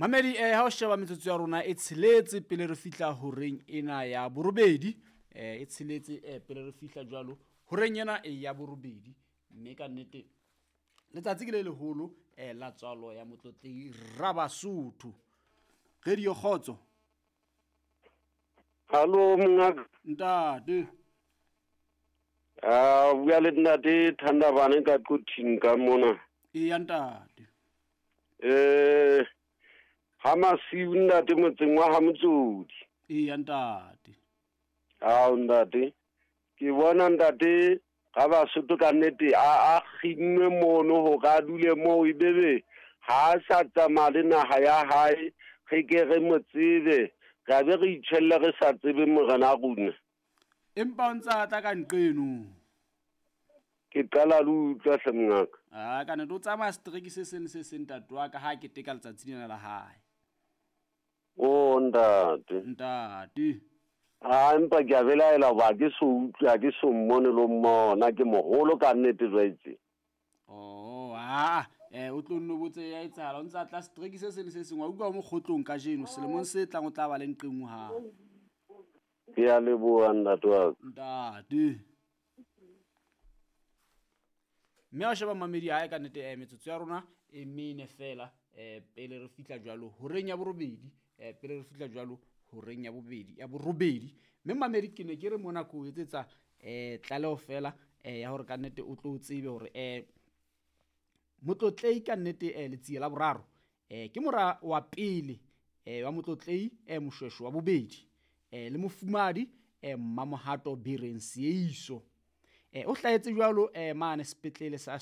Mamedi, ha o sheba metsotso ya rona e tsheletse pele re fihla horeng ena ya borobedi, e tsheletse pele re fihla jwalo horeng ena ya borobedi. Mme ka nnete letsatsi ke le leholo la tswalo ya Motlotlei Rabasotho. Radio Kgotso. Hallo mongaka. Ntate. A bua le ntate Thandabane ka Quthing ka mona. Eya ntate. Ha masiu ntate motseng wa ha Motsodi. Eya ntate. Ao ntate. Ke bona ntate ga Basotho ka nnete a kginnwe mono hore a dule moo, ebebe ha a sa tsamaya le naha ya hae, re ke re mo tsebe, re be re itjhelle re sa tsebe morena rona. Empa o ntse a tla ka nqeno. Ke qala le utlwa hle mongaka. Ah, ka nnete o tsamaya setereke se seng le se seng ntate wa ka ha keteka letsatsi lena la hae. O ntate. Ntate. Ah, empa ke a belaela hoba ke so utlwe, ha ke so mmone le ho mmona, ke moholo ka nnete jwaetse. Oh, ah, o tlo nno botse ya etsahala, o ntse a tla setereke se seng le se seng, wa utlwa o mo kgotlong kajeno, selemong se tlang o tla ba le nqeng hape. Ke a leboha ntate wa ka. Ntate. Mme ha o sheba mamedi hae ka nnete, metsotso ya rona e mene fela, pele re fihla jwalo horeng ya borobedi, pele re fihla jwalo horeng ya bobedi, ya borobedi. Mme mamedi ke ne ke re mona ke o etsetsa, tlaleho fela, ya hore ka nnete o tlo tsebe hore, Motlotlei ka nnete, Letsie la boraro, ke mora wa pele, wa Motlotlei, Moshweshwe wa bobedi, le mofumadi, Mmamohato Bereng Seeiso. O hlahetse jwalo, mane sepetlele sa